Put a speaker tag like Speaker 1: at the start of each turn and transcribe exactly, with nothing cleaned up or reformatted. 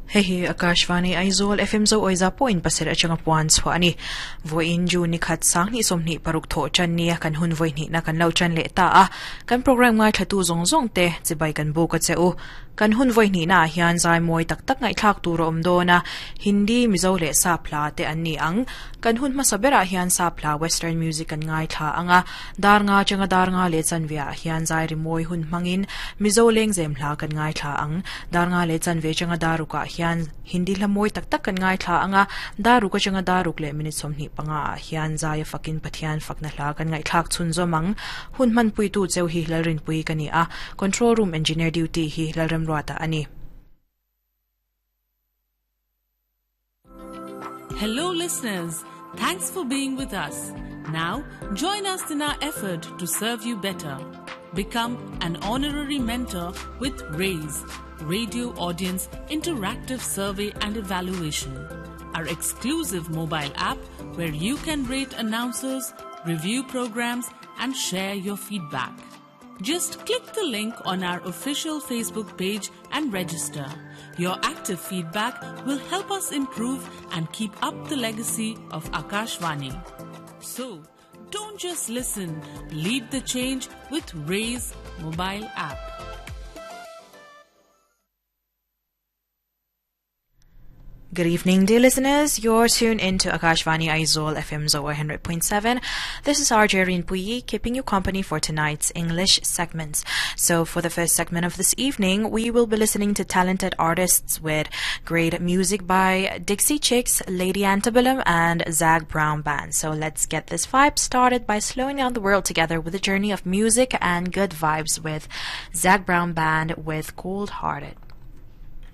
Speaker 1: Hei hi Akashvani Aizawl F M zo oiza point pasir achanga puan chhuah ani voin ju ni khat sang ni somni paruk tho chan ni kan hun voi ni na kan lo chan le ta a kan program ngai thatu zong zong te chibai kan bu ka cheu kan hun voi ni na hian zai moi tak tak ngai thak tur om do na Hindi Mizo le sa phla te an ni ang kan hun ma sabera hian sa phla western music kan ngai tha anga dar nga changa dar nga le chan via hian zai ri moi hun mangin Mizo leng zem hla kan ngai tha ang dar nga le chan ve changa daruka hian Hindi hla moi tak tak kan ngai tha anga daruka changa daruk le minute somni panga hian zai fakin pathian fakna hla kan ngai thak chun zomang hun man pui tu cheu hi lalrin pui kani a control room engineer duty hi lalram ruata ani.
Speaker 2: Hello listeners, thanks for being with us. Now join us in our effort to serve you better. Become an honorary mentor with RAISE, Radio Audience Interactive Survey and Evaluation, our exclusive mobile app where you can rate announcers, review programs and share your feedback. Just click the link on our official Facebook page and register. Your active feedback will help us improve and keep up the legacy of Akashvani. So, don't just listen, lead the change with RAISE mobile app.
Speaker 1: Good evening, dear listeners. You're tuned in to Akashvani Aizawl F M Zoa one hundred point seven. This is R J Rinpuyi keeping you company for tonight's English segments. So for the first segment of this evening, we will be listening to talented artists with great music by Dixie Chicks, Lady Antebellum, and Zac Brown Band. So let's get this vibe started by slowing down the world together with a journey of music and good vibes with Zac Brown Band with Cold Hearted.